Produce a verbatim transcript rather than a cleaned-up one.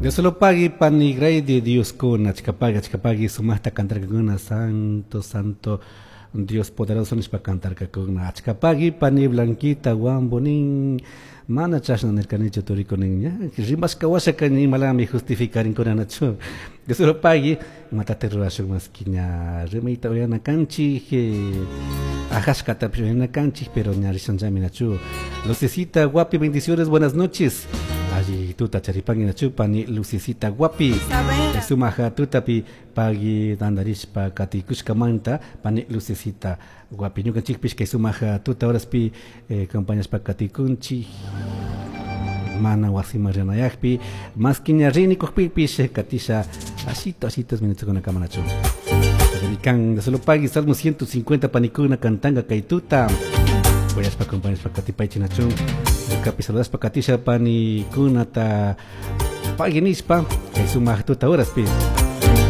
Dios lo pague pani de Dios con achkapaga achkapagi sumaqta cantarkakuna santo santo Dios poderoso nishpa cantarkakuna achkapagi pani Blanquita Guambonin mana chashna nirkanichu turikunin ña rimashka washaka imalami justificarinkuna nachu Dios lo pague imatata rurashun maski ña rimayta uyana kanchik ajashkatapish uyana kanchik pero ña rishanllami nachu. Lucecita Guapi, bendiciones, buenas noches. Alli tuta charipangi nachu pani Lucecita Guapi. Sumaja tutapi pagui tandarishpa katikushkamanta pani Lucecita Guapi. Ñukanchikpish kay sumaja tuta horaspi eh, acompañashpa katikunchik mana wasiman rinayakpi maski ña rinikukpipish katisha ashito ashitos minutos kamanachu. Kan solo pagui Salmo ciento cincuenta panikuna cantanga kay tuta. Voyaspa acompañashpa katipaychi nachu. Kapi saludaspa katisha panikunata pagui nishpa kay sumaq tuta horaspi.